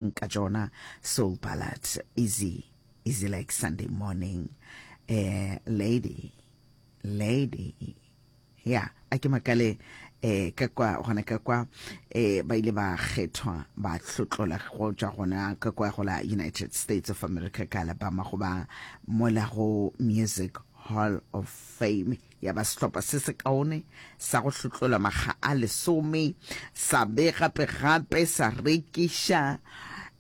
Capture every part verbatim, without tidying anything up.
Ka tšona soul ballad, easy, easy like Sunday morning, eh, lady, lady, ya, a ke makale, eh, ka kwa, gona ka kwa, eh, ba ile ba kgethwa, ba hlotlola go tšwa gona ka kwa go la United States of America ka Alabama go ba mola go Music Hall of Fame. Ya ba sehlopha se sekaone sa go hlotlola makga a lesome, sa be gape-gape sa rekiša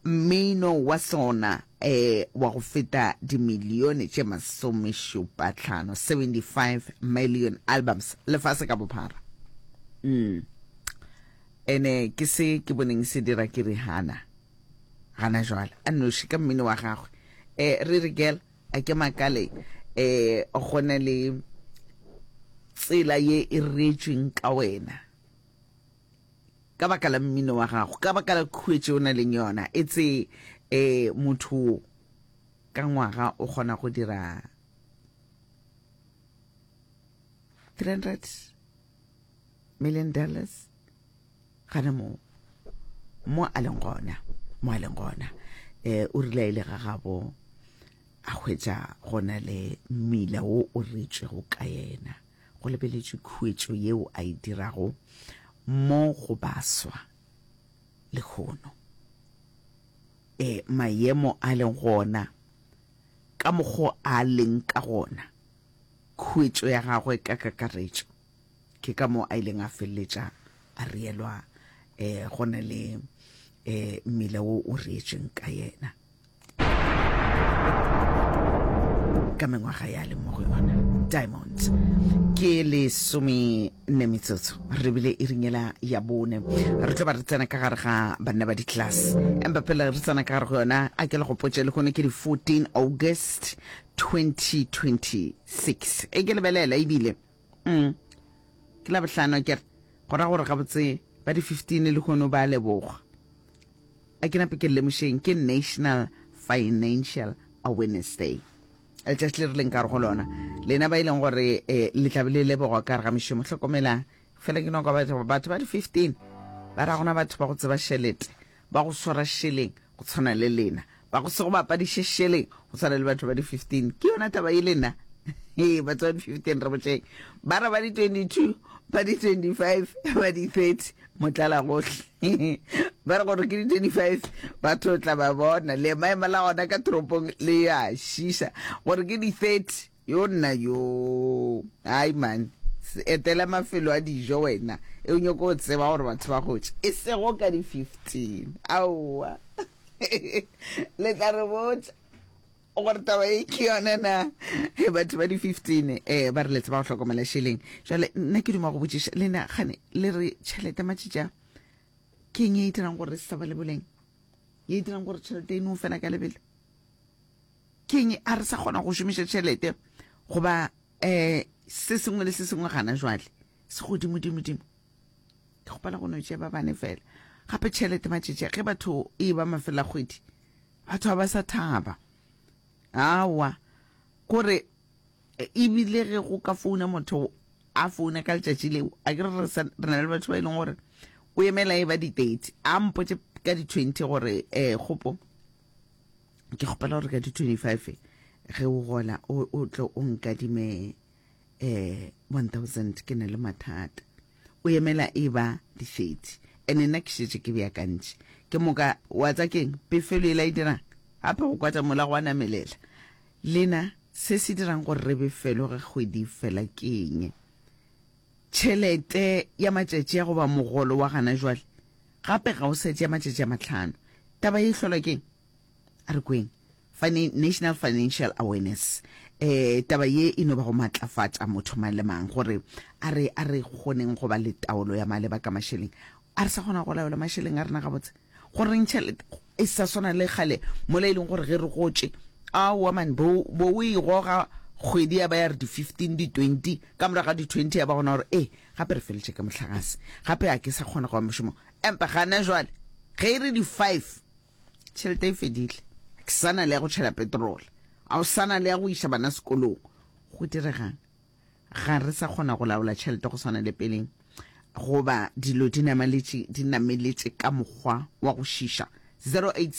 mmino wa sona eh, wa go feta dimilione tše masomešupa-hlano, seventy-five million albums, lefase ka bophara. Mm. Ene ke se ke boneng se dira ke Rihanna gana jwale a nnoši ka mmino wa gagwe. Eh, Riri girl, a ke makale eh go na le tsela ye e reetšweng ka wena ka baka la mmino wa gago, ka baka la khuetšo o na leng yona. E tse eh motho ka ngwaga o kgona go dira three hundred million dollars gana mo mo a leng gona, mo a leng gona. Eh o rile a ile ga gabo a hwetša go na le mmila wo o reetšwego ka yena, go lebeletšwe khuetšo yeo a e dirago mo go baswa lehono. E maemo a leng gona, ka mokgo a leng ka gona, khuetšo ya gagwe ka kakaretšo, ke ka moo a ileng a feleletša a reelwa eh go na le eh mmila wo o reetšweng ka yena ka mengwaga ya leng mo go yona. Diamond ke lesome nne metsotso re bile e ringela ya bone, re tlo ba re tsena ka gare ga banna ba di-class, empa pele re tsena ka gare go yona a ke le gopotše lehono ke di fourteen August twenty twenty-six. E ke lebelela ebile mm, ke la bohlano ke re go ra gore gabotse ba di fifteen lehono ba lebogwa. A ke nape ke lemošeng ke National Financial Awareness Day, letšatši le re leng ka gare go lona, lena ba e leng gore eh, le tlabe le lebogwa ka gare ga mešomo. Hlokomela fela ke no kwa batho batho ba di fifteen ba ra gona batho ba go tseba šelete, ba go swara šeleng go tshwana le lena, ba go se go bapadiše šeleng go tshwana le batho ba di fifteen. Ke yona taba e lena. Ee, batho ba di fifteen re botšeng, ba re ba di twenty-two, ba di twenty-five, ba di thirty, motlala gohle. Ba re gore ke di twenty-five, batho tla ba bona le maema la gona ka toropong le ya šiša. Gore ke di thirty, yo nna yo. Ai man, etela mafelo a dijo wena, e o nyoko tseba gore batho ba gotše, e sego ka di fifteen. Aowa. Le tla re botša gore taba e ke yona na. Batho ba di fifteen eh ba re le tseba go hlokomela šeleng. Jwale nna ke duma go botšiša lena, gane le re tšhelete matšitša ke eng e dirang gore re se sa ba le boleng, ye e dirang gore tšhelete e no fela ka lebelo? Ke eng a re sa kgona go šomiša tšhelete goba eh se sengwe le se sengwe gana jwale se godimo-dimo-dimo? Ke kgopela go no tšea ba bane fela. Gape tšhelete matšatši ge batho e ba mafela kgwedi, batho ga ba sa thaba. Aowa, kore ebile ge go ka founa motho a founa ka letšatši leo, a ke re re sa- re na le batho ba e leng gore o emela e ba di-thirty, a mpotše ka di-twenty gore eh kgopo ke kgopela gore ka di-twenty-five ge o gola o o tle o nkadime eh one thousand, ke na le mathata. O emela e ba di-thirty, ene nna ke šetše ke beakantše. Ke moka wa tsa keng pefelo e la e dirang gape go kwatša mola go a namelela. Lena se se dirang gore re befelo ge kgwedi fela ke eng? Tšhelete ya matšatši a goba mogolo wa gana jwale gape ga o sa tšea matšatši a mahlano. Taba ye e hlolwa keng? A re kweng. Fina-, National Financial Awareness. Eh, taba ye e no ba go matlafatša motho mang le mang gore a re, a re kgoneng go ba le taolo ya maleba ka mašeleng. A re sa kgona go laola mašeleng a rena gabotse? Goreng tšhelete e sa swana le kgale mola e leng gore ge re gotše, aowa man, bo, bo o e goga kgwedi ya ba ya re di fifteen, di twenty, ka morago ga di twenty ya ba gona gore e gape re feletše ka mohlagase, gape a ke sa kgona go ya mošomong. Empa gana jwale ge e re di five, tšhelete e fedile, ke sa na le ya go tšhela petrol, a o sa na le ya go iša bana sekolong. Go diregang? Ga re sa kgona go laola tšhelete go swana le peleng, goba dilo di namaletše, di nameletše ka mokgwa wa go šiša. zero eight